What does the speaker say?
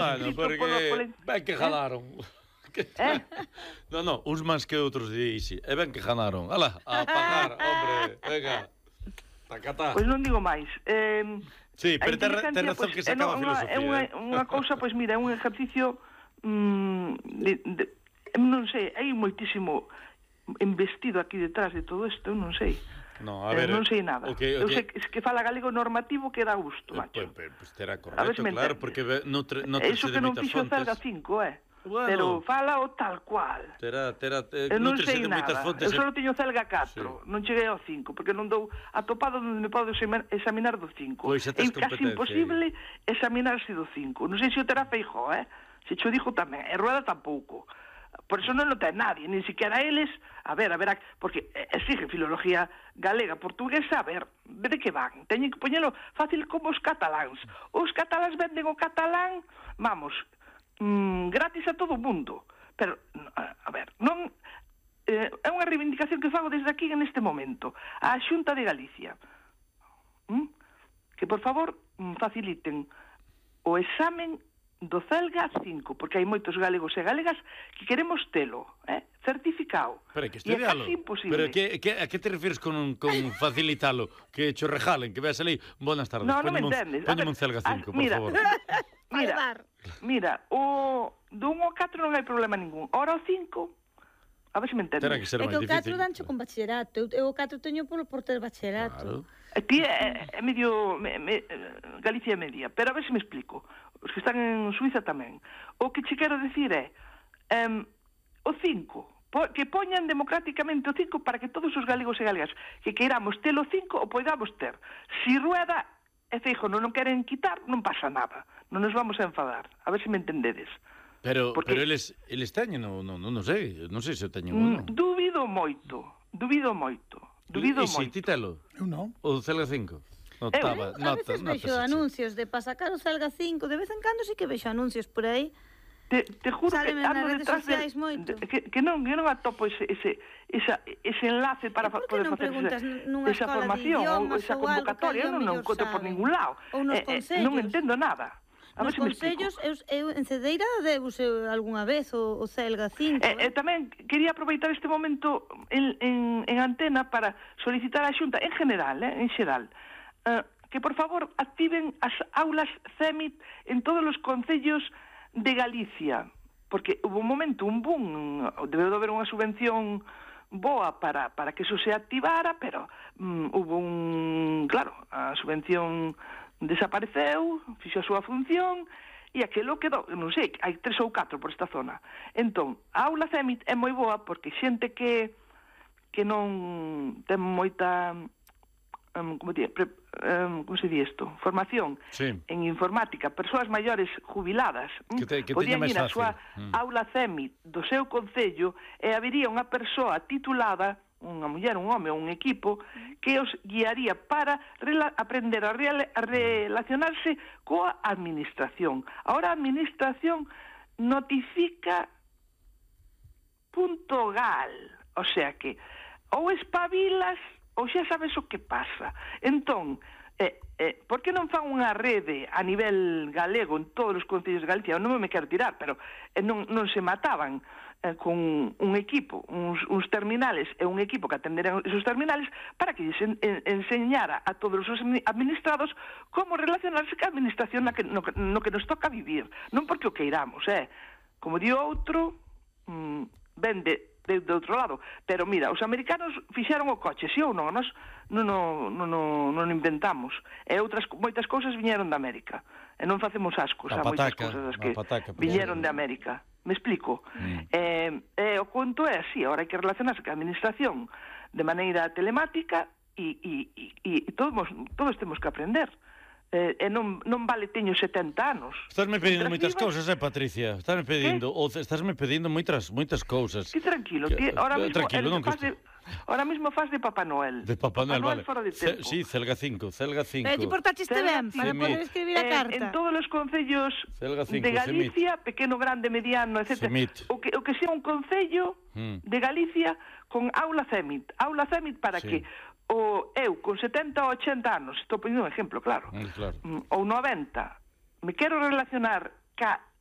Bueno, porque ben que jalaron. No, uns máis que outros dixi. E ben que jalaron. Ala, a pagar, hombre, venga. Tacatá. Pois non digo máis. Sí, pero ten razón que se acaba a filosofía. É unha cousa, pois mira, é un exercicio non sei, hai moitísimo investido aquí detrás de todo isto, non sei. No, a ver, non sei nada. Eu sei que fala galego normativo que dá gusto, macho. Pois terá correcto, claro, porque non te iso que non fixo Celga 5, pero fala o tal cual. Non sei nada. Eu só teño Celga 4, non cheguei ao 5, porque non dou atopado onde me podo examinar do 5. É casi imposible examinarse do 5. Non sei se o terá Feijóo, se cho dixo tamén, e Rueda tampouco. Por eso non o ten nadie, nin siquiera eles. A ver, porque exige filología galega, portuguesa, a ver, de que van? Teñen que poñelo fácil como os cataláns. Os cataláns venden o catalán, vamos, gratis a todo o mundo. Pero, a ver, non... é unha reivindicación que fago desde aquí neste momento. A Xunta de Galicia. Que, por favor, faciliten o examen do Celga 5, porque hai moitos galegos e galegas que queremos telo, certificado. Pero que estudialo. Pero a que te refires con facilitalo? Que cho regalen, que veas ali, buenas tardes. Non me entendes. Póñeme un Celga 5, por favor. Mira, o do 1 ao 4 non hai problema ningún. Ora o 5, a ver se me entendes. É que o 4 dancho con bachillerato. Eu o 4 teño por ter bachillerato. Aquí é medio... Galicia é media, pero a ver se me explico. Os que están en Suiza tamén. O que che quero dicir é o 5, que poñan democráticamente o 5 para que todos os galegos e galegas que queiramos ter o 5 o poidamos ter. Si Rueda e Feijóo non queren quitar, non pasa nada. Non nos vamos a enfadar. A ver se me entendedes. Pero eles teñen, non sei se o teñen ou non. Dubido moito. E si, ti telo? Eu non. O Celga 5? A veces vexo anuncios de para sacar o Celga 5, de vez en cando sí que vexo anuncios por aí. Te juro que ando detrás que non atopo ese enlace para poder facer esa formación ou esa convocatoria. Eu non encontro por ningún lado. Non entendo nada. Nos consellos, eu en Cedeira deuse algunha vez o Celga 5. Tamén quería aproveitar este momento en antena para solicitar a Xunta, en xeral, que por favor activen as aulas CEMIT en todos os concellos de Galicia, porque hubo un momento, un boom, debeu de haber unha subvención boa para que eso se activara, pero hubo claro, a subvención desapareceu, fixo a súa función, e aquilo quedou, non sei, hai 3 ou 4 por esta zona. Entón, a aula CEMIT é moi boa porque xente que non ten moita... como se di isto? Formación en informática, persoas maiores jubiladas, podían ir a súa aula CEMIT do seu concello e habería unha persoa titulada, unha muller, un home ou un equipo que os guiaría para aprender a relacionarse coa administración. Ahora a administración notifica .gal, o sea que ou espabilas ou xa sabes o que pasa. Entón, por que non fan unha rede a nivel galego en todos os concellos de Galicia? Non me quero tirar, pero non se mataban con un equipo, uns terminales e un equipo que atenderan esos terminales para que enseñara a todos os administrados como relacionarse ca administración no que nos toca vivir. Non porque o queiramos, como di outro, vende de outro lado. Pero mira, os americanos fixeron o coche, si ou non, nós non inventamos. E moitas cousas viñeron de América. E non facemos ascos a moitas cousas que viñeron de América. Me explico? O conto é así, agora hai que relacionarse ca administración de maneira telemática e todos temos que aprender. E non vale, teño 70 anos. Estásme pedindo moitas cousas, Patricia. Estásme pedindo moitas cousas. Que tranquilo, ahora mismo faz de Papá Noel. De Papá Noel, vale. Fora de tempo. Sí, Celga 5. Pero ti portaxiste ben para poder escribir a carta. En todos os concellos de Galicia, pequeno, grande, mediano, etc. O que sea un concello de Galicia con aula CEMIT. Aula CEMIT para que eu con 70 ou 80 anos, estou poniendo un exemplo, claro, ou 90, me quero relacionar ca